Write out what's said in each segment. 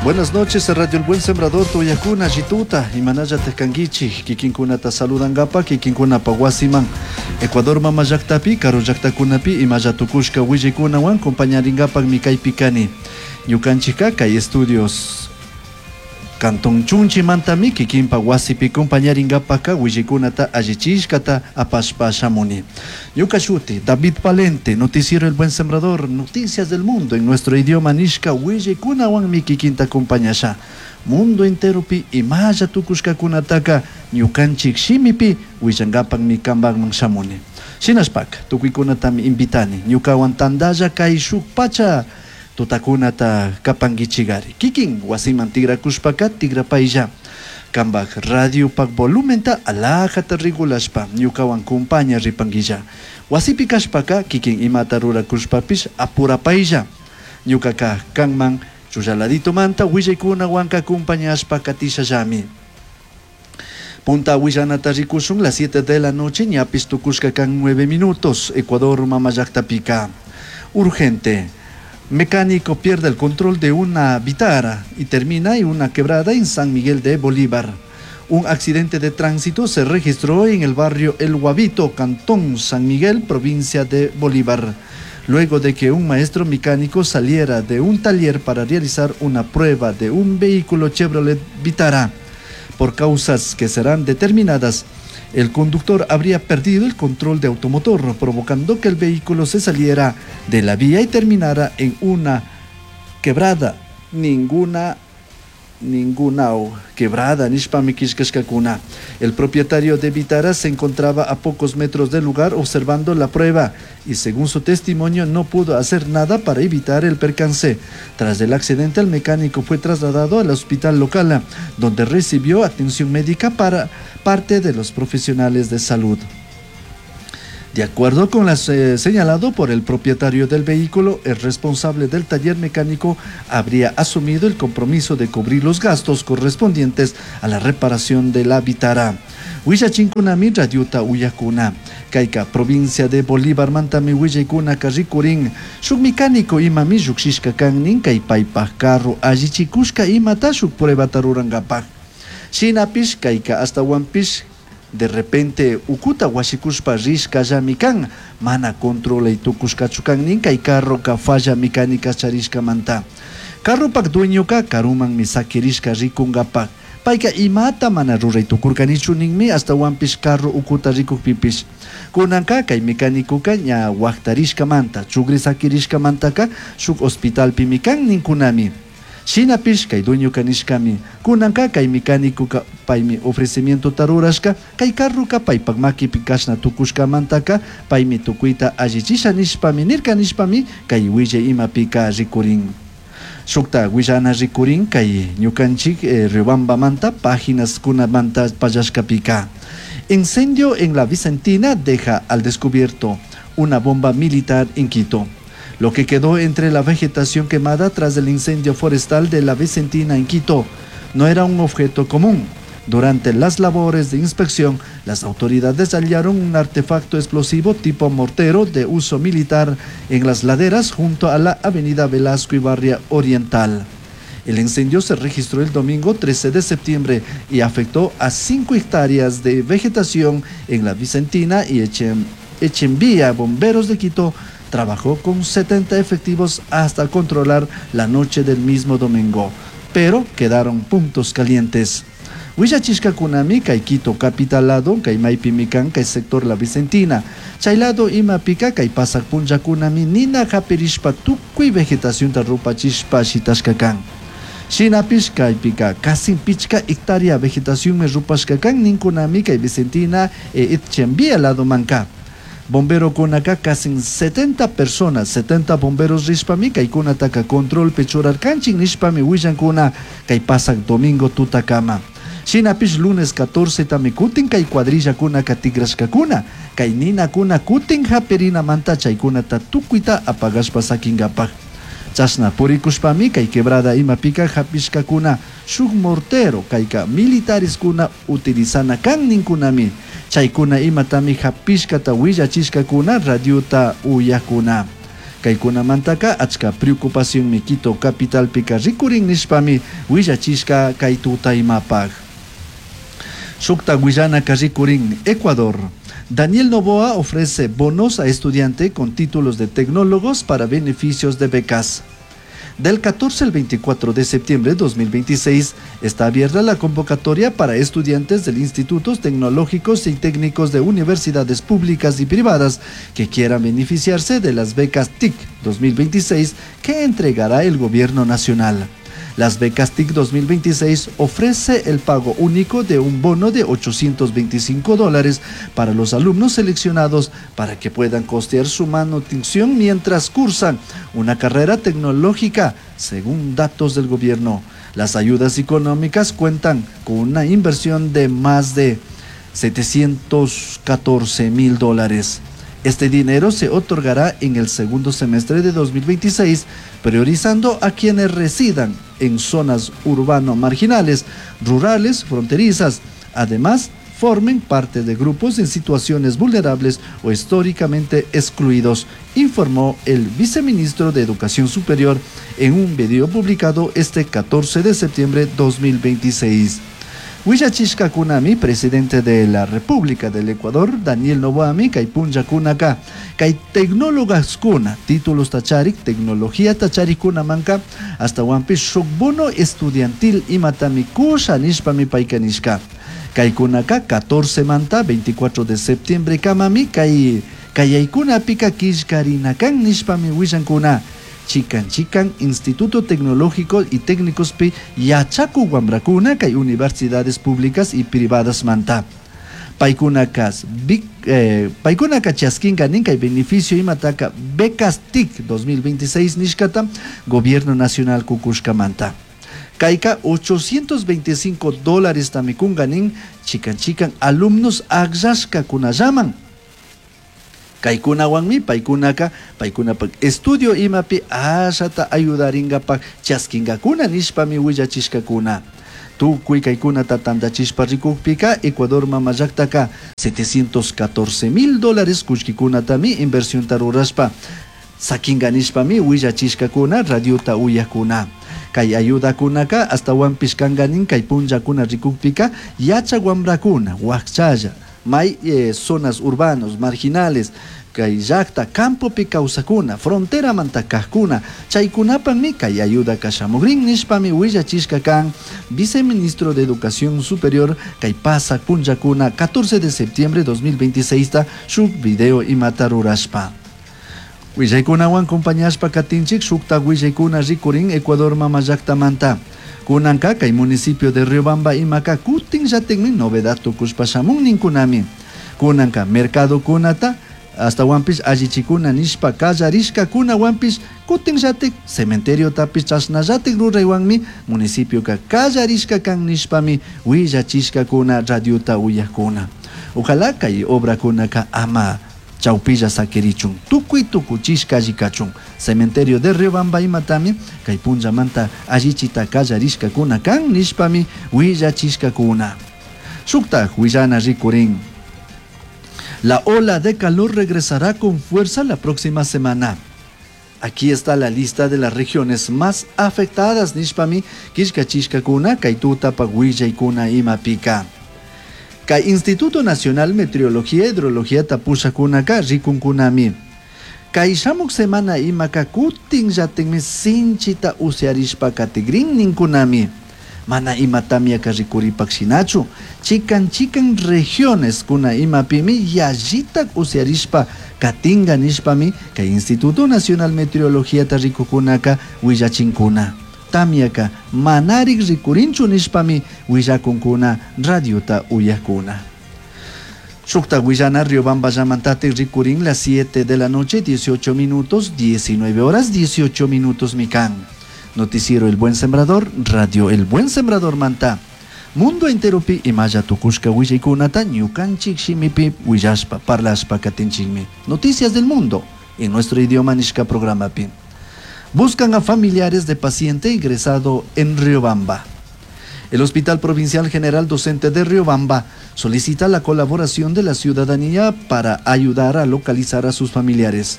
Buenas noches, Radio El Buen Sembrador, Tuyakuna, Jituta, imanalla kankichik, kikinkunata saludangapa, kikinkunapa wasiman, Ecuador mama llaktapi, karu llaktakunapi, imalla tukushka willaykunawan compañaringapakmi kaypi kani. Ñukanchikka kay estudios Cantón Chunchimantami kikinpa wasipi compañaringapaka willaykunata allichishkata apashpa shamuni. Ñuka shuti, David Valente, Noticiero El Buen Sembrador, Noticias del Mundo en nuestro idioma nishka willaykunawanmi kikinta acompañasha. Mundo enteropi imalla tukushkakunataka ñukanchik shimipi willangapakmi kanpakman shamuni. Shinashpaka tukuykunatami invitani ñukawan tandalla kay shuk pacha tutakunata kapankichigari. Kikin wasiman tigrakushpaka tigrapaylla. Kanpak radiopak volumenta alajata regulashpa ñukawan compaña ripanguilla. Wasipi kashpaka kikin imata rurakushpapish apurapaylla. Ñukaka kanman chullaladitomanta willaykunawanka acompañashpa katishallami. Punta willanata rikushun las 7 de la noche, ñapis tukushka kan 9 minutos, Ecuador mama llaktapica. Urgente. Mecánico pierde el control de una Vitara y termina en una quebrada en San Miguel de Bolívar. Un accidente de tránsito se registró en el barrio El Guavito, Cantón San Miguel, provincia de Bolívar, luego de que un maestro mecánico saliera de un taller para realizar una prueba de un vehículo Chevrolet Vitara. Por causas que serán determinadas, el conductor habría perdido el control de automotor, provocando que el vehículo se saliera de la vía y terminara en una quebrada. Ninguna quebrada, nishpami kishkashkakuna. El propietario de Vitara se encontraba a pocos metros del lugar observando la prueba y según su testimonio no pudo hacer nada para evitar el percance. Tras el accidente, el mecánico fue trasladado al hospital local, donde recibió atención médica para parte de los profesionales de salud. De acuerdo con lo señalado por el propietario del vehículo, el responsable del taller mecánico habría asumido el compromiso de cubrir los gastos correspondientes a la reparación de la Vitara. Willachinkunami radiota uyakuna. Kayka provincia de Bolívar mantami willaykunaka rikurin. Shuk mecánico imami llukshishka kan nin kay paypak carro allichikushka imata shuk pruebata rurankapak. Shinapish kayka ashtawanpish de repente ukuta washikushpa rishkallami kan, mana controlay tukushkachu kan nin kay carroka falla mecánica charishkamanta. Carropak dueñoka karumanmi sakirishka rikunkapak. Payka imata mana ruray tukurkanichu ninmi ashtawanpish carro ukuta rikukpipish. Kunanka kay mecánicoka ña waktarishkamanta, chugri sakirishkamantaka shuk hospitalpimi kan ninkunami. Shinapish kay dueñoka nishkami, kunanka kay mecánicoka paymi ofrecimientota rurashka, kay carroka paypak makipi kashna tukushkamantaka paymi tukuyta allichisha nishpami nirka nishpami kay willay imapika rikurin. Shukta willana rikurin kay ñukanchik Riobambamanta páginas kunamanta pallashkapika. Incendio en la Vicentina deja al descubierto una bomba militar en Quito. Lo que quedó entre la vegetación quemada tras el incendio forestal de la Vicentina en Quito no era un objeto común. Durante las labores de inspección, las autoridades hallaron un artefacto explosivo tipo mortero de uso militar en las laderas junto a la avenida Velasco Ibarria Oriental. El incendio se registró el domingo 13 de septiembre y afectó a 5 hectáreas de vegetación en la Vicentina y Echenvía. Bomberos de Quito trabajó con 70 efectivos hasta controlar la noche del mismo domingo, pero quedaron puntos calientes. Willachishkakunami kay Quito capital lado, kay maypimi kan kay sector La Vicentina. Chay lado imapika kay pasak punllakunami nina hapirishpa tukuy vegetacionta rupachishpa shitashka kan. Shinapish kaypika casi pichka hectárea vegetación rupashka kan ninkunami kay Vicentina e Etxenvía lado manka. Bombero kunaka casi 70 personas, 70 bomberos rishpami kaykunataka control pechurarkanchik nishpami willankuna kay pasak domingo tutakama. Shinapish lunes 14 tami kutin kay cuadrillakuna tigrashkakuna, kay ninakuna kutin haperinamanta chaykunata tukuyta apagashpa sakinkapak. Chashna purikushpami kay quebrada imapika hapishkakuna shuk mortero kayka militares-kuna utilizana kan ninkunami. Chaykuna imatami hapishkata willachishkakuna radiota uyakuna. Kaykunamantaka achka preocupacionmi Quito capitalpika rikurin nishpami willachishka kay tutaymapak. Shukta willanaka rikurin Ecuador. Daniel Noboa ofrece bonos a estudiante con títulos de tecnólogos para beneficios de becas. Del 14 al 24 de septiembre de 2026 está abierta la convocatoria para estudiantes del institutos tecnológicos y técnicos de universidades públicas y privadas que quieran beneficiarse de las becas TIC 2026 que entregará el Gobierno Nacional. Las becas TIC 2026 ofrece el pago único de un bono de $825 para los alumnos seleccionados para que puedan costear su manutención mientras cursan una carrera tecnológica, según datos del gobierno. Las ayudas económicas cuentan con una inversión de más de 714 mil dólares. Este dinero se otorgará en el segundo semestre de 2026, priorizando a quienes residan en zonas urbano-marginales, rurales, fronterizas. Además, formen parte de grupos en situaciones vulnerables o históricamente excluidos, informó el viceministro de Educación Superior en un video publicado este 14 de septiembre de 2026. Willachishkakunami, presidente de la República del Ecuador, Daniel Noboami, kay punllakunaka, kay tecnólogaskuna, títulos tacharik, tecnología tacharikunamanka, ashtawanpish shuk bono estudiantil imatami kusha nishpami payka nishka. Kaykunaka 14 manta 24 de septiembre kamami kay kayaykunapika killkarinakan nishpami willankuna. Chikan chikan Instituto Tecnológico y Técnicospi yachaku wamrakuna kay universidades públicas y privadas manta. Paykunakas paykunaka chaskinka nin kay beneficio imataka becas TIC 2026 nishkata Gobierno Nacional kukushkamanta. Kayka $825 tami kunka nin chikan chikan alumnos akllashkakunallaman. Kaykunawanmi paykunaka paykunapak estudio imapi ashata ayudarinkapak chaskinkakuna nishpami willachishkakuna. Tukuy kaykunata tantachishpa rikukpika Ecuador mama llaktaka 714 mil dólares kullkikunatami inversionta rurashpa sakinka nishpami willachishkakuna radiota uyakuna. Kay ayudakunaka ashtawanpish kanka nin kay punllakuna rikukpika yachak wamrakuna wakchalla may zonas urbanos marginales kay llakta campopi kawsakuna fronteramanta kajkuna chaykunapakmi kay ayudaka shamukrin nishpami willachishka kan viceministro de Educación Superior kay pasak punllakuna 14 de septiembre 2026 ta shuk video imata rurashpa. Willaykunawan compañashpa katinchik shukta willaykuna rikurin Ecuador mama llaktamanta. Kunanka kay municipio de Riobamba imaka kutin llatikmi novedad tukushpa shamun ninkunami. Kunanka mercado kunata ashtawanpish allichikuna nishpa kallarishkakunawanpish kutin llatik cementeriotapish chashnallatik ruraywanmi municipioka kallarishka kan nishpami willachishkakuna radiota uyakuna. Ojalá kay obrakunaka ama chawpilla sakirichun tukuy tukuchishka allikachun. Cementerio de Riobamba imatami kay punllamanta allichita kallarishkakuna kan nishpami willachishkakuna. Shuktak willana rikurin. La ola de calor regresará con fuerza la próxima semana. Aquí está la lista de las regiones más afectadas nishpami killkachishkakuna kay tutapak willaykuna imapika. Kay Instituto Nacional Meteorología e Hidrología tapushakunaka rikunkunami. Kay shamuk semana imaka kutin llatikmi sinchita usyarishpa katigrin ninkunami. Mana ima tamyaka rikuripak shinachu. Chikan chikan regiones kuna imapimi yallitak usyarishpa katinga nishpami kay Instituto Nacional Meteorología ta rikukunaka willachinkuna. Tamyaka manarik rikurinchu nishpami willakunkuna radiota uyakuna. Shukta willana Riobamba llamantatik rikurin las 7 de la noche, 18 minutos, 19 horas, 18 minutos mikan. Noticiero El Buen Sembrador, Radio El Buen Sembrador Manta. Mundo enteropi imaya tukushka willaykunata ñukanchik shimipi willashpa parlashpa katinchikmi. Noticias del mundo en nuestro idioma nishka programapi. Buscan a familiares de paciente ingresado en Riobamba. El Hospital Provincial General Docente de Riobamba solicita la colaboración de la ciudadanía para ayudar a localizar a sus familiares.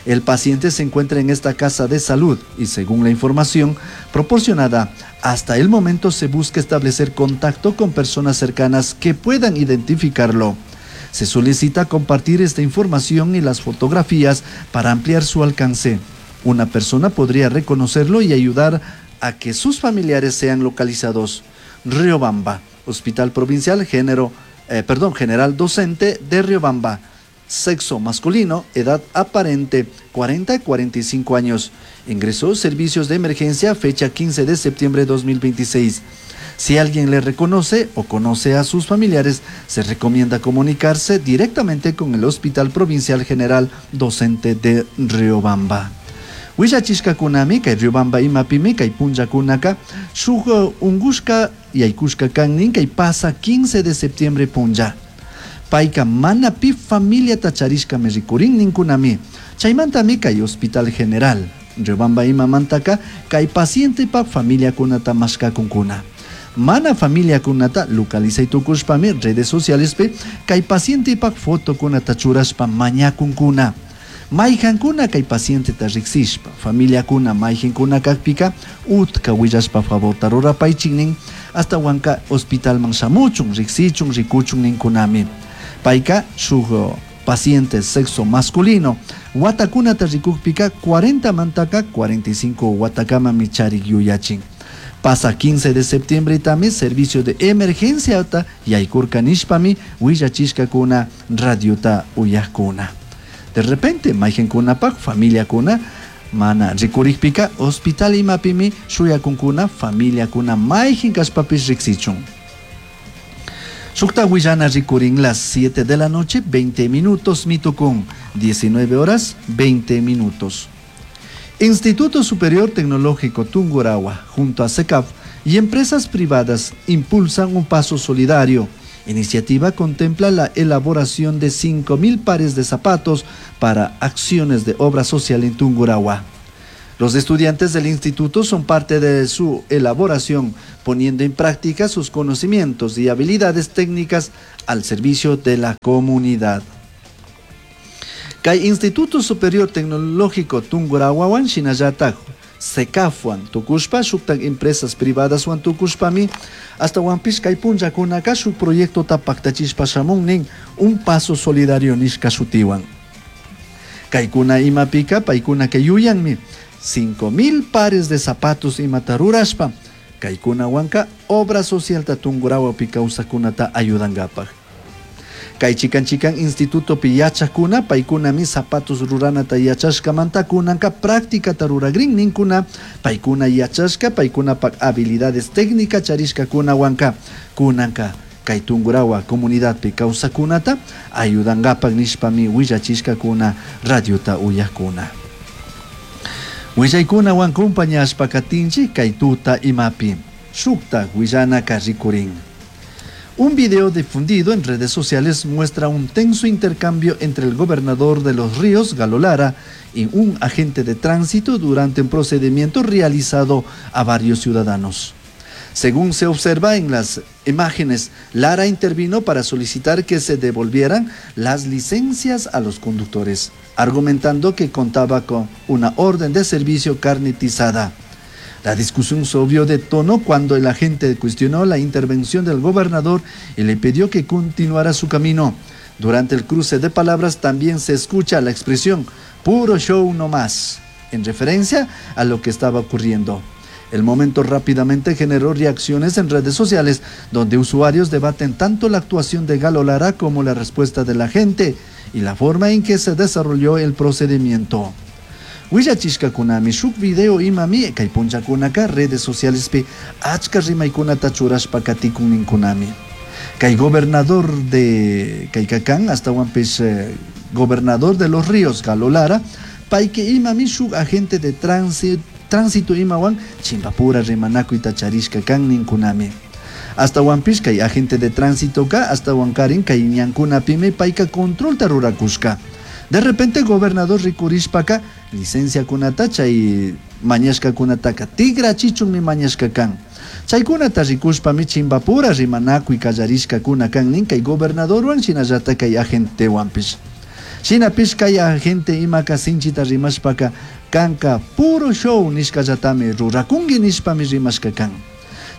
El paciente se encuentra en esta casa de salud y, según la información proporcionada, hasta el momento se busca establecer contacto con personas cercanas que puedan identificarlo. Se solicita compartir esta información y las fotografías para ampliar su alcance. Una persona podría reconocerlo y ayudar a que sus familiares sean localizados. Riobamba, Hospital Provincial Género, perdón, General Docente de Riobamba. Sexo masculino, edad aparente 40 a 45 años. Ingresó servicios de emergencia fecha 15 de septiembre de 2026. Si alguien le reconoce o conoce a sus familiares, se recomienda comunicarse directamente con el Hospital Provincial General Docente de Riobamba. Willachishkakunami kay Riobamba imapimi kay punllakunaka shuk ungushka yaykushka kan kay pasa 15 de septiembre punlla. Payka mana pi familiata charishkami rikurin ninkunami. Chaymantami kay Hospital General Riobamba imamantaka kay pacientepak familiakunata mashkakunkuna. Mana familiakunata localizay tukushpami redes socialespi kay pacientepak fotokunata churashpa mañakunkuna. Mayhankuna kay pacienteta riksishpa, familiakuna mayhankuna kakpika utka willashpa favorta rurapaychik nin, hasta wanka hospitalman shamuchun, riksichun, rikuchun ninkunami. Payka shuk paciente sexo masculino, watakunata rikukpika 40 mantaka 45 watakamami charik yuyachin. Pasa 15 de septiembre también servicio de emergencia ta yaykurka nishpami willachishkakuna radiota uyakuna. De repente mayhankunapak familiakuna mana rikurikpika hospital imapimi shuyakunkuna familiakuna mayhan kashpapish riksichun. Shukta willana rikurin las 7 de la noche 20 minutos mitukun 19 horas 20 minutos. Instituto Superior Tecnológico Tungurahua junto a CECAF y empresas privadas impulsan un paso solidario. Iniciativa contempla la elaboración de 5.000 pares de zapatos para acciones de obra social en Tungurahua. Los estudiantes del instituto son parte de su elaboración, poniendo en práctica sus conocimientos y habilidades técnicas al servicio de la comunidad. Kay Instituto Superior Tecnológico Tungurahuawan shinallatak CECAFwan tukushpa shuktak empresas privadaswan tukushpami ashtawanpish kay punllakunaka shuk proyectota paktachishpa shamun nin un paso solidario nishka shutiwan. Kaykuna imapika paykunaka yuyanmi 5.000 pares de zapatos imata rurashpa kaykunawanka obra socialta Tungurahuapi kawsakkunata ayudankapak. Kay chikan chikan institutopi yachakuna paykunami zapatos ruranata yachashkamanta kunanka prácticata ruragrin ninkuna paykuna yachashka paykunapak habilidades técnica charishkakunawanka kunanka kay Tungurahua comunidadpi kawsakkunata ayudankapak nishpami willachishkakuna radiota uyakuna. Willaykunawan compañashpa katinchik kay tuta imapi shukta willanaka rikurin. Un video difundido en redes sociales muestra un tenso intercambio entre el gobernador de Los Ríos, Galo Lara, y un agente de tránsito durante un procedimiento realizado a varios ciudadanos. Según se observa en las imágenes, Lara intervino para solicitar que se devolvieran las licencias a los conductores, argumentando que contaba con una orden de servicio carnetizada. La discusión subió de tono cuando el agente cuestionó la intervención del gobernador y le pidió que continuara su camino. Durante el cruce de palabras también se escucha la expresión puro show no más, en referencia a lo que estaba ocurriendo. El momento rápidamente generó reacciones en redes sociales, donde usuarios debaten tanto la actuación de Galo Lara como la respuesta de la gente y la forma en que se desarrolló el procedimiento. Willachishkakunami shuk video imami kay punllakunaka redes socialespi achka rimaykunata churashpa katikun ninkunami. Kay gobernador de Kaykakan ashtawanpish gobernador de Los Ríos Galo Lara payka imami shuk agente de tránsito imawan chimpapura rimanakuyta charishka kan ninkunami. Ashtawanpish kay agente de tránsito ka ashtawankarin kay ñankunapimi payka controlta rurakushka. De repente gobernador rikurishpaka licenciakunata chay mañashkakunataka tikrachichunmi mañashka kan. Chaykunata rikushpami chimpapura rimanakuy kallarishkakuna kan nin kay gobernadorwan shinallata kay agentewanpish. Shinapish kay agente imaka sinchita rimashpaka kanka puro show nishkallatami rurakunki nishpami rimashka kan.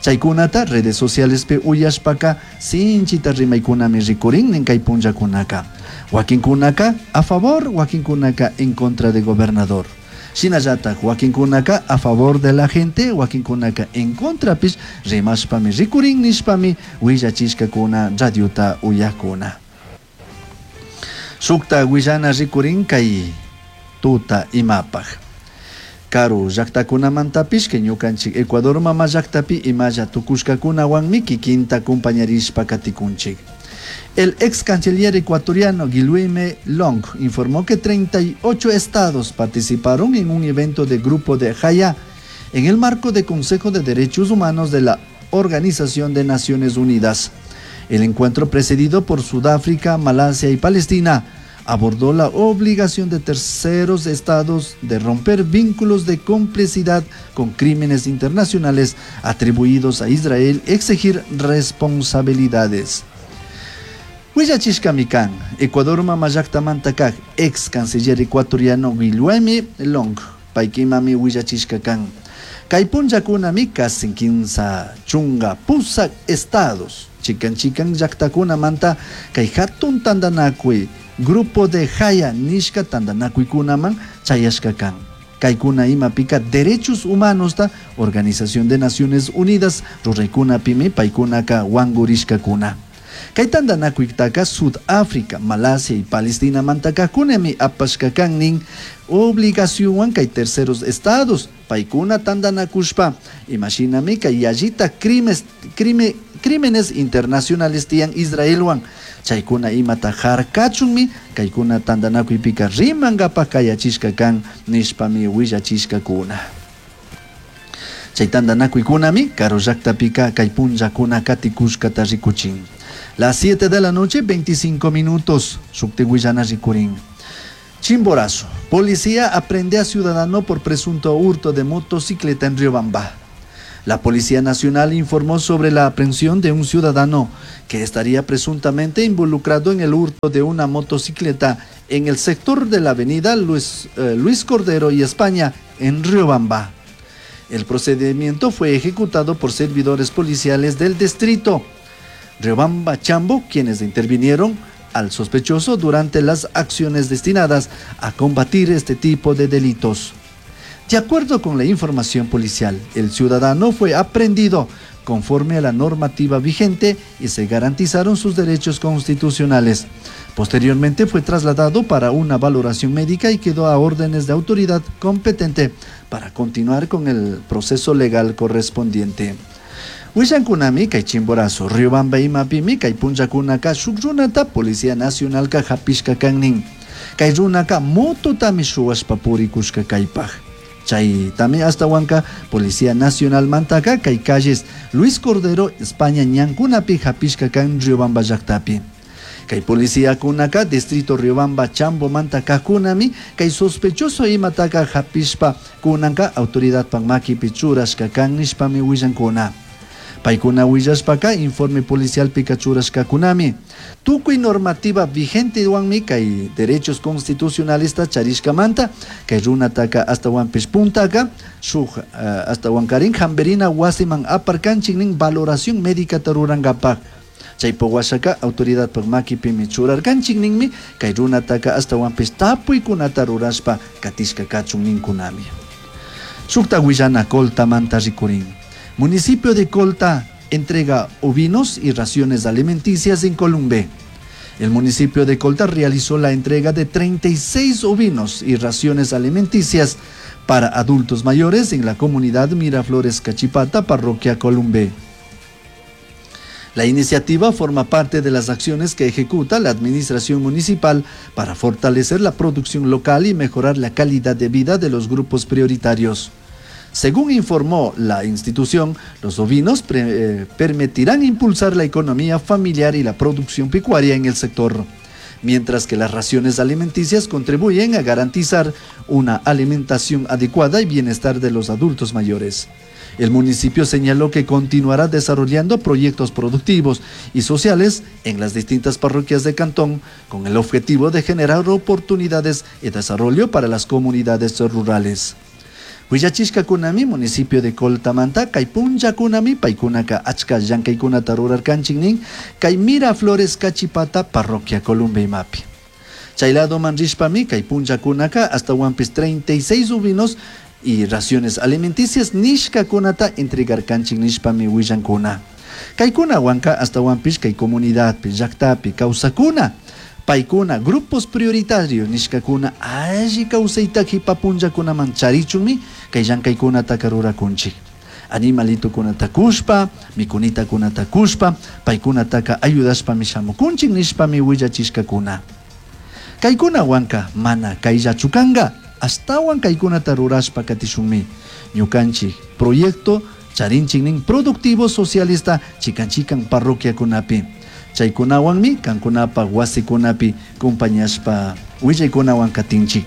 Chaykunata redes socialespi uyashpaka sinchita rimaykunami rikurin nin kay punllakunaka. Wakinkunaka a favor, wakinkunaka en contra de gobernador. Shinallatak wakinkunaka a favor de la gente, wakinkunaka en contrapish rimashpami rikurin nishpami willachishkakuna radiota uyakuna. Shukta willana rikurin kay tuta imapaj. Karu llaktakunamantapish kay ñukanchik Ecuador mama llaktapi imalla tukushkakunawanmi kikinta acompañarishpa katikunchik. El ex canciller ecuatoriano Guillaume Long informó que 38 estados participaron en un evento de Grupo de Haya en el marco del Consejo de Derechos Humanos de la Organización de Naciones Unidas. El encuentro, precedido por Sudáfrica, Malasia y Palestina, abordó la obligación de terceros estados de romper vínculos de complicidad con crímenes internacionales atribuidos a Israel y exigir responsabilidades. Willachishkami kan, Ecuador mama llaktamanta kak ex canciller ecuatoriano Guillaume Long, paykimami willachishka kan. Kay punllakunami casi 38 estados, chikan chikan llaktakunamanta kay hatun tantanakuy, Grupo de Haya nishka tantanakuykunaman chayashka kan. Kaykuna imapika derechos humanos ta Organización de Naciones Unidas ruraykunapimi paykunaka wankurishkakuna. Kay tantanakuytaka Sudáfrica, Malasia y Palestina mantakakunami apashka kan nin obligacionwan kay terceros estados paykuna tantanakushpa imashinami kay yallita crímenes internacionales tiyan Israelwan chaykuna imata harkachunmi kaykuna tantanakuypika rimankapaj kayachishka kan nishpami willachishkakuna. Chay tantanakuykunami karu llaktapika kay punllakuna katikushkata rikuchin. Las 7 de la noche, 25 minutos, shukti willana rikurin. Chimborazo. Policía aprende a ciudadano por presunto hurto de motocicleta en Riobamba. La Policía Nacional informó sobre la aprehensión de un ciudadano que estaría presuntamente involucrado en el hurto de una motocicleta en el sector de la avenida Luis Cordero y España en Riobamba. El procedimiento fue ejecutado por servidores policiales del distrito Riobamba Chambo, quienes intervinieron al sospechoso durante las acciones destinadas a combatir este tipo de delitos. De acuerdo con la información policial, el ciudadano fue aprehendido conforme a la normativa vigente y se garantizaron sus derechos constitucionales. Posteriormente fue trasladado para una valoración médica y quedó a órdenes de autoridad competente para continuar con el proceso legal correspondiente. Willankunami kay Chimborazo, Riobamba imapimi kay punllakunaka shuk runata Policía Nacionalka hapishka kannin. Kay runaka mototami shuwashpa purikushka kaypaj. Chaytami astawanka Policía Nacional mantaka kay calles Luis Cordero, España ñankunapi hapishka kan Riobamba llaktapi. Kay policía kunaka distrito Riobamba Chambo mantaka kunami kay sospechoso imataka hapishpa kunanka autoridad makipi churashka kan nishpami willankuna. Paykuna willashpaka informe policial pika churashka kunami. Tukuy normativa vigente wanmi kay derechos constitucionalista charishkamanta kay runataka astawanpish puntaka shuk astawankarin hamberina wasiman aparkanchik nin valoración médica rurankapaj. Chaypo washaka autoridad makipimi churarkanchik ninmi kay runataka astawanpish tapuykunata rurashpa katishka kachun ninkunami. Shukta willana Colta manta rikurin. Municipio de Colta entrega ovinos y raciones alimenticias en Columbe. El municipio de Colta realizó la entrega de 36 ovinos y raciones alimenticias para adultos mayores en la comunidad Miraflores Cachipata, parroquia Columbe. La iniciativa forma parte de las acciones que ejecuta la administración municipal para fortalecer la producción local y mejorar la calidad de vida de los grupos prioritarios. Según informó la institución, los ovinos permitirán impulsar la economía familiar y la producción pecuaria en el sector. mientras que las raciones alimenticias contribuyen a garantizar una alimentación adecuada y bienestar de los adultos mayores. El municipio señaló que continuará desarrollando proyectos productivos y sociales en las distintas parroquias de Cantón con el objetivo de generar oportunidades y desarrollo para las comunidades rurales. Huillachishkakunami municipio de Coltamanta kay punllakunami paykunaka achka llankaykunata rurarkanchik nin kay Miraflores Cachipata parroquia Columbe imapi. Chay ladoman rishpami kay punllakunaka astawanpis 36 uvinos y raciones alimenticias nishkakunata entregarkanchik nishpami willankuna. Kaykunawanka astawanpis kay comunidadpi llaktapi kawsakuna paykuna grupos prioritarios nishkakuna alli kawsayta qipa punllakunaman charichunmi kay llankaykunataka rurakunchik. Animalitokunata kushpa, mikunitakunata kushpa, paykunataka ayudashpami shamukunchik nishpami willachishkakuna. Kaykunawanka mana kayllachu kanka, ashtawan kaykunata rurashpa katishunmi. Ñukanchik proyecto charinchik nin productivo socialista chikan chikan parroquiakunapi. Chaykunawanmi kankunapaq wasikunapi compañashpa willaykunawan katinchik.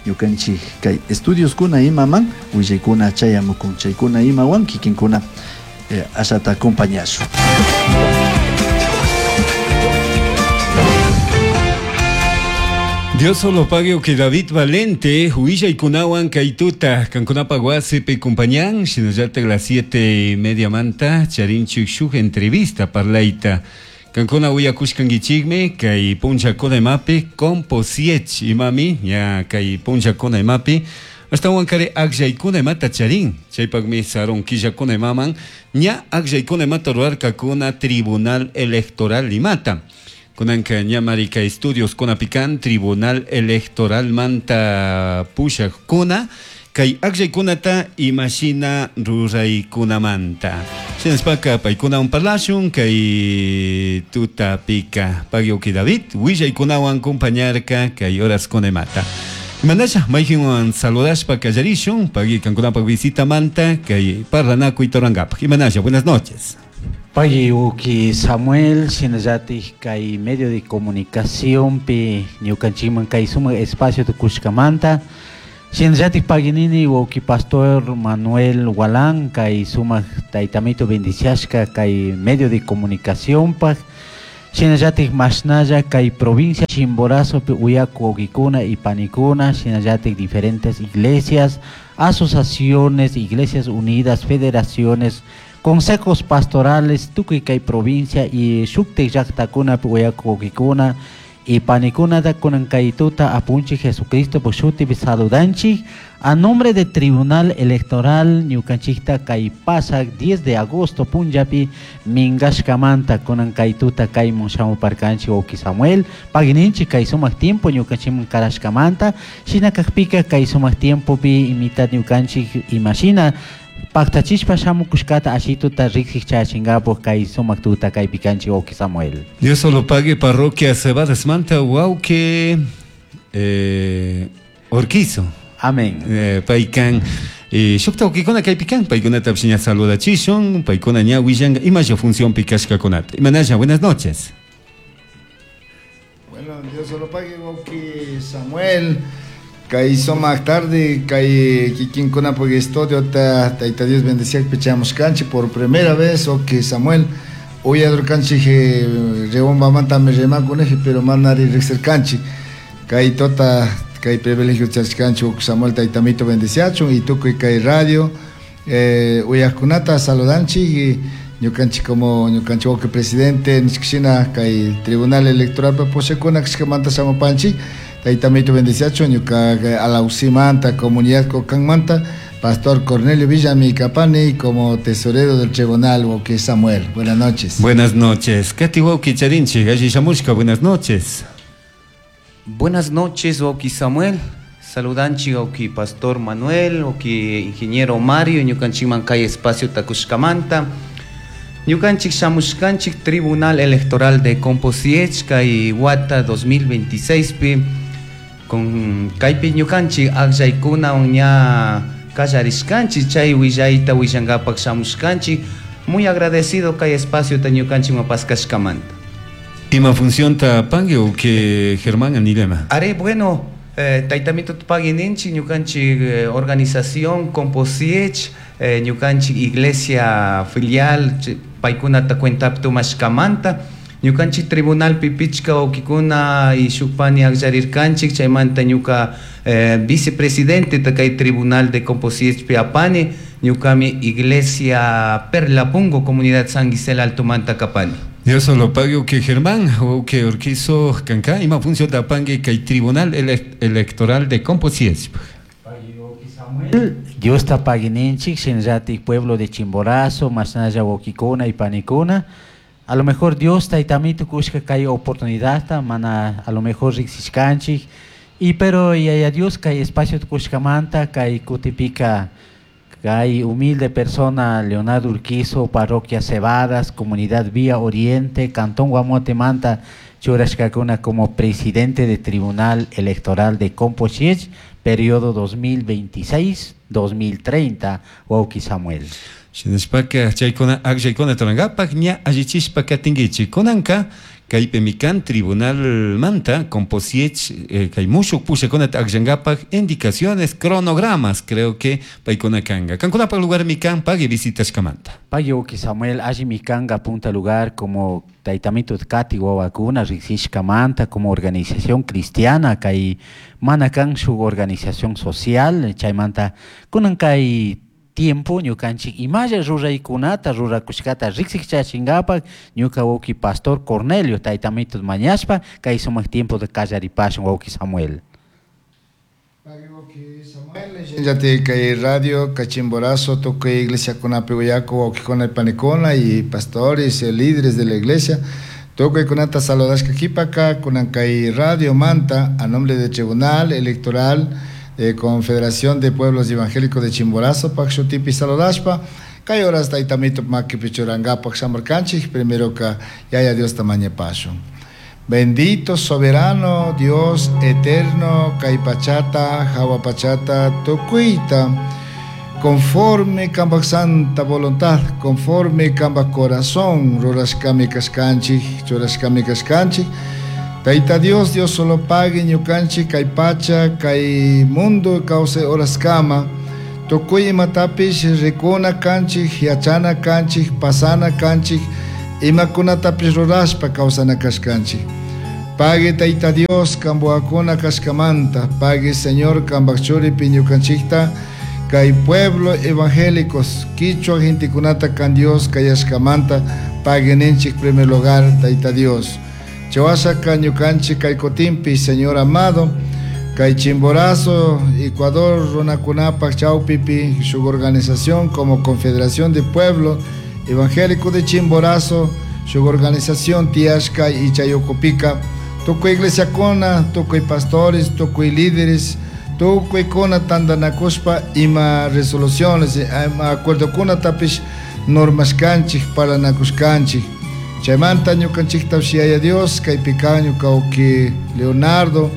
Ñukanchik kay estudioskuna imaman willaykuna chayamukun chaykuna imawan kikinkuna ashata acompañashun. Dios solo pague que David Valente, huillaykunawan kaytuta, kankunapa wasipi compañan, shinallata las 7:30 manta, charinchik shuk entrevista parlayta. Kankuna uyakushkankichikmi kay punllakuna imapi composiech imami ña kay punllakuna imapi ashtawan kari akllaykuna imata charin chaypakmi sarun killakuna imaman ña akllaykuna imata rurarkakuna Tribunal Electoral imata. Kunanka ña marika estudios kunapikan Tribunal Electoral manta pushakuna kay akllaykunata imashina ruraykunamanta. Shinashpaka paykunawan parlashun kay tutapika pagyoki David willaykunawan compañarka kay horas imata. Imanasha mayhinwan saludashpa kallarishun pagui kankunapak visita manta kay parlanakuy torangapak. Imanasha, buenas noches. Pagui uki Samuel shinallatik kay medio de comunicación pi ñukanchikman kay sumak espacio tukushkamanta. Shinallatik paginini wawki pastor Manuel Gualán kay sumak taytamito bendiciashka kay medio de comunicación pak. Shinallatik mashnalla kay provincia Chimborazo pi uyaku wawkikuna y panikuna shinallatik diferentes iglesias, asociaciones, iglesias unidas, federaciones, consejos pastorales tukuy kay provincia y shuktik llaqtakuna pi uyaku wawkikuna y panikunata kunan kay tuta apunchik Jesucristo por shutipi saludanchik a nombre de Tribunal Electoral ñukanchikta kay pasak 10 de agosto punllapi minkashkamanta kunan kay tuta kaymun shamuparkanchik wawki Samuel pagininchik kay sumak tiempo ñukanchikman karashkamanta shina kakpika kay sumak tiempopi imita ñukanchik imashina paktachishpa shamukushkata ashituta riksik chayachinkapak kay sumak tuta kaypi kanchik wawki Samuel. Dios solo pague parroquia Cebadas Manta wawki Orquizo. Amén. Paykan shukta wawkikuna kaypi kan paykunatapish ña saludachishun paykuna ña willanka imasha funcionpi kashkakunata. Imanasha, buenas noches. Bueno, Dios solo pague wawki Samuel. Kay sumak tarde, kay kikinkunapuk estudio ta Tayta Dios bendeciakpi chayamushkanchik por primera vez wawki Samuel uyadurkanchik Riobambamantami rimakuniji pero manari riksirkanchik kay tota kay privilegio charishkanchik wawki Samuel taytamito bendeciachun y tukuy kay radio uyajkunata saludanchik y ñukanchik como ñukanchik wawki presidente nishkashina kay Tribunal Electoral pushakuna kashkamanta shamupanchik taytamito bendeciachun ñuka Alausimanta comunidad Cocanmanta Pastor Cornelio Villami Capani como tesorero del tribunal wawki Samuel. Buenas noches. Buenas noches. Kati wawki charinchik, alli shamushka, buenas noches. Buenas noches wawki Samuel. Saludanchik wawki Pastor Manuel, wawki Ingeniero Mario, ñukanchikman kay espacio takushkamanta. Ñukanchik shamushkanchik Tribunal Electoral de Composiech kay wata 2026 pi con kaypi ñukanchik akllaykuna ña kallarishkanchik chay willayta willankapak shamushkanchik. Muy agradecido kay espacio ta ñukanchik mapaskashkamanta. Ima función ta pangue o que Germán anilema? Are bueno, taytamito paguininchik ñukanchik organización Composiech, ñukanchik iglesia filial paykunata cuentapi tumashkamanta ñukanchik tribunalpi pichka wawkikuna y shuk pani akllarirkanchik chaymanta ñuka vicepresidente kay tribunal de Composiechpi apani ñukami iglesia Perlapungo comunidad San Gisela Altomanta kapani. Dios solo pague que Germán o que Urquizo kanka ima función ta pangue kay tribunal electoral de Composiech. Dios ta paguininchik shinllatik pueblo de Chimborazo, masnalla wawkikuna y panikuna. A lo mejor Dios taytamito kushka kay oportunidad mana a lo mejor riksishkanchik y pero yaya Dios kay espacio kushkamanta kay kutipika kay humilde persona Leonardo Urquizo, parroquia Cebadas, comunidad Vía Oriente, Cantón Guamote Manta, churashkakuna como presidente de Tribunal Electoral de Composiech, periodo 2026-2030, wawki Samuel. Shinashpaka chaykuna akllaykuna turankapak ña allichishpa katinkichik kunanka kaypi mikan tribunal manta Composiech kay mushuk pushakunata akllankapak indicaciones cronogramas creo que paykuna kanka kankunapak lugar mikan pagui visitashkamanta. Pagui wawki Samuel alli mikanka punta lugar como taytamito kati wawakuna riksishkamanta como organización cristiana kay mana kan shuk organización social chaymanta kunan kay tiempo ñukanchik imalla ruraykunata rurakushkata riksichachinkapak ñuka wawki pastor Cornelio taytamito mañashpa kay sumak tiempo de kallaripashun wawki Samuel. Samuel, kay radio Cachimborazo tukuy iglesia kunapi uyaku wawkikuna y panikuna y pastores líderes de la iglesia tukuy kunata saludashka kipaka kunan kay radio manta a nombre del Tribunal Electoral de Confederación de Pueblos Evangélicos de Chimborazo, Pakshutipi saludashpa, kay horas taytamito makipi churankapak shamarkanchik, primero ka yaya Dios tamaña pasho. Bendito soberano Dios eterno, kay pachata, jawa pachata, tukuita, conforme kambak santa voluntad, conforme kambak corazón, rurashkami kashkanchik, churashkami kashkanchik, Taita Dios, Dios solo pague ñukanchik, kay pacha, kay mundo, cause horas kama, tukuy imatapish rikuna kanchik, yachana kanchik, pasana kanchik, imakunatapish rurashpa kawsana kashkanchik. Pague Taita Dios, kambuakuna kashkamanta, pague Señor kambakchuripi ñukanchikta, kay pueblo evangélicos, quichua gentekunata kan Dios kayashkamanta, pague ninchik primer lugar, Taita Dios. Chawasaka ñukanchik kay kutinpi, Señor amado, kay Chimborazo, Ecuador, runakunapak chawpipi, su organización como Confederación de Pueblo Evangélico de Chimborazo, su organización Tiashka y Chayocopika, tukuy iglesia kona, tukuy pastores, tukuy líderes, tukuy kona tandanakushpa ima resoluciones, ima acuerdo kuna tapish normas kanchik, paranakushkanchik. Chaymanta ñukanchikta yaya Dios, kaypika ñuka wawki Leonardo,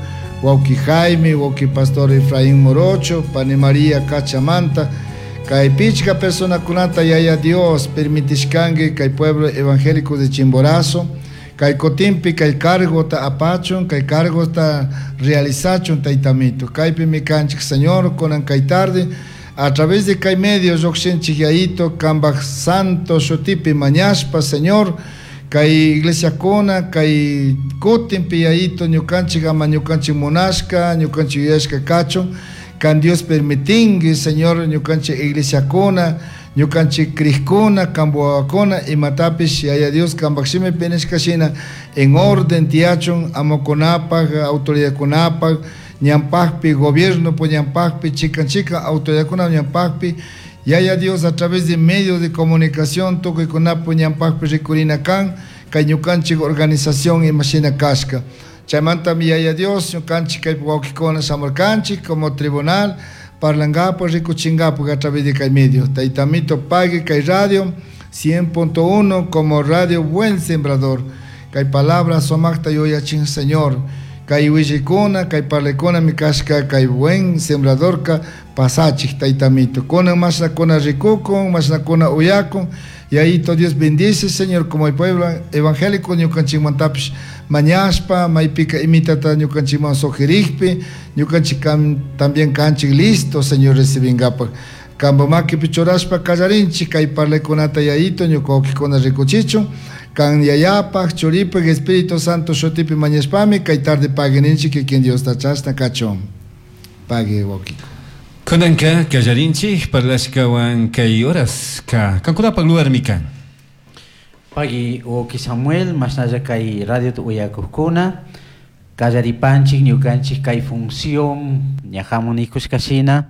wawki Jaime, wawki Pastor Efraín Morocho, pani María Cachamanta, kay pichka personakunata yaya Dios permitishkanki kay pueblo evangélico de Chimborazo, kay kutinpi kay cargota apachun, kay cargota realizachun taytamito. Kaypi mikanchik Señor, kunan kay tarde, a través de kay medios llukshinchik yayito, kambak santo shutipi mañashpa, Señor, kay iglesia kuna, kay kutinpi yayito ñukanchik ama ñukanchik munashka, ñukanchik yuyashka kachun, kan Dios permitingi, Señor, ñukanchik iglesia kuna, ñukanchik krikuna, kambuawakuna, imatapish yaya Dios kambak shimi penishka shina, en orden tiyachun, amokunapak, autoridadkunapak, ñampakpi, gobierno po ñampakpi, chikan chikan autoridadkuna ñampakpi, yaya Dios a través de medios de comunicación tukuykunapu ñampakpi rikurina kan, kay ñukanchik organización imashina kashka. Chaymantami yaya Dios ñukanchik kaypi wawkikuna shamurkanchik como tribunal parlangapak rikuchingapak a través de kay medio. Taytamito pague kay radio 100.1 como radio Buen Sembrador. Kay palabra sumakta yuyachin Señor. Kay willikuna, kay parlaykunami kashka, kay buen sembradorka pasachik taytamito. Kunan mashnakuna rikukun, mashnakuna uyakun. Yayito Dios bendice, Señor, como el pueblo evangélico ñukanchikmantapish mañashpa, maypika imitata ñukanchikman sugerijpi, ñukanchik también kanchik listo, Señor, recibingapak. Kampa makipi churashpa kallarinchik kay parlaykunata yayito ñuka wawkikuna rikuchichun. Kan yayapaj, churipaj, Espíritu Santo shutipi mañashpami kay tarde pague ninchik kikin Diosta chashna kachun. Pague wawkiko. Kunanka kallarinchik parlashkawan kay horas ka kankunapak lugarmi kan. Pagui wawki Samuel, mashnalla kay radio uyakukuna, kallaripanchik ñukanchik kay función ña hamunikushkashina,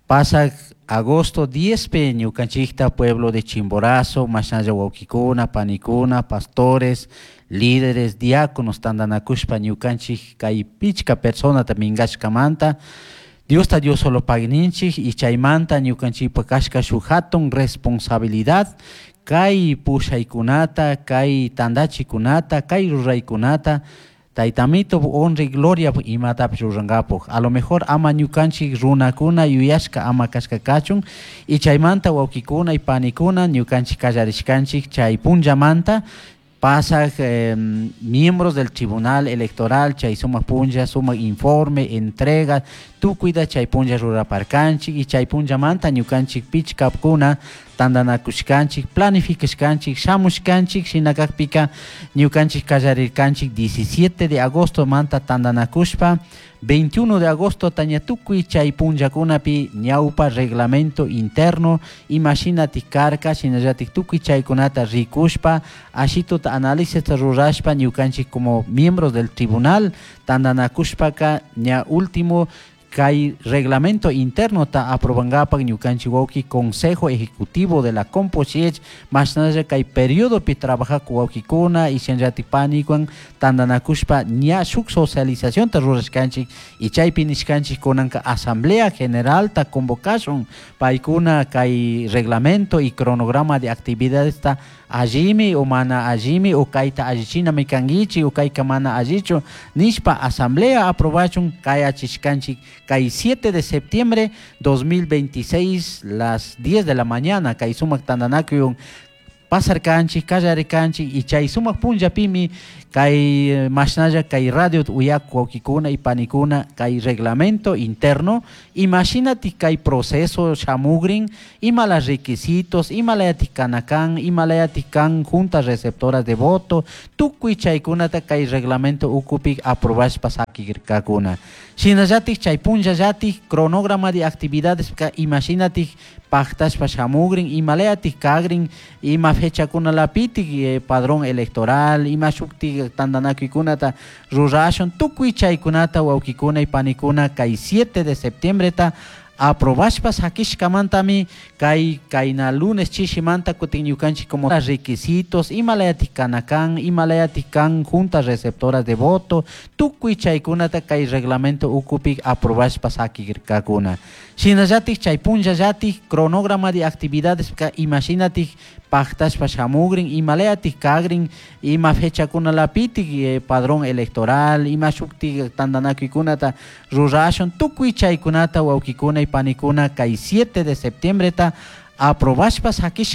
pasak agosto 10 pe ñukanchikta pueblo de Chimborazo, mashnalla wawkikuna, panikuna, pastores, líderes, diáconos tantanakushpa ñukanchik kay pichka personata minkashkamanta, Diosta Dios solo pagui ninchik y chaymanta ñukanchikpa kashka shuk hatun responsabilidad kay pushaykunata, kay tandachikunata, kay ruraykunata, Taytamito honra y gloria imatapish rurankapak. A lo mejor ama ñukanchik runakuna yuyashka ama kashka kachun y chaymanta wawkikuna y panikuna ñukanchik kallarishkanchik chay punllamanta pasak miembros del tribunal electoral chay sumak punlla, sumak informe, entrega, tukuyta chay punlla ruraparkanchik y chay punllamanta ñukanchik pichkapkuna tantanakushkanchik, planificashkanchik, shamushkanchik, shinakakpika ñukanchik kallarirkanchik 17 de agosto manta tantanakushpa 21 de agosto taña tukuy chay punllakunapi ñawpa reglamento interno imashinatik karka shinallatik tukuy chaykunata rikushpa ashituta análisis rurashpa ñukanchik como miembros del tribunal tantanakushpaka ña último kay reglamento interno ta aprobangapak ñukanchik wawki consejo ejecutivo de la Composiech mashnalla kay periodopi trabajak wawkikuna y shinallatik panikuan tantanakushpa ña shuk socializacionta rurashkanchik y chaypi nishkanchik kunanka asamblea general ta convocashun paykuna kay reglamento y cronograma de actividades ta allimi o mana allimi o kayta allichinami kankichik o kayka mana allichu nishpa asamblea aprobachun kayachishkanchik kay 7 de septiembre 2026 las 10 de la mañana kay sumak tantanakuywan pasarkanchik kallarikanchik y chay sumak punllapimi kay mashnalla kay radio uyak wawkikuna y panikuna kay reglamento interno imashinatik kay proceso shamugrin imala requisitos imalayatik kanakan imalayatik kan juntas receptoras de voto tukuy chaykunata kay reglamento ukupik aprobashpa sakirkakuna shinallatik chay punllallatik cronograma de actividades imashinatik paktashpa shamugrin imalayatik kagrin ima fechakunalapitik padrón electoral ima shuktik tantanakuykunata rurashun tukuy chaykunata wawkikuna y panikuna kay 7 de septiembre ta aprobashpa sakishkamantami kay kayna lunes chishimanta kutin ñukanchik como requisitos imalayatik kanakan imalayatik kan juntas receptoras de voto tukuy chaykunata kay reglamento ukupik aprobashpa sakirkakuna shinallatik chay punllallatik cronograma de actividades imashinatik paktashpa shamugrin imalayatik kagrin ima fechakunalapitik padrón electoral ima shuktik tantanakuykunata rurashun tukuy chaykunata wawkikuna y panikuna kay 7 de septiembre ta aprobashpa sakishkamanta.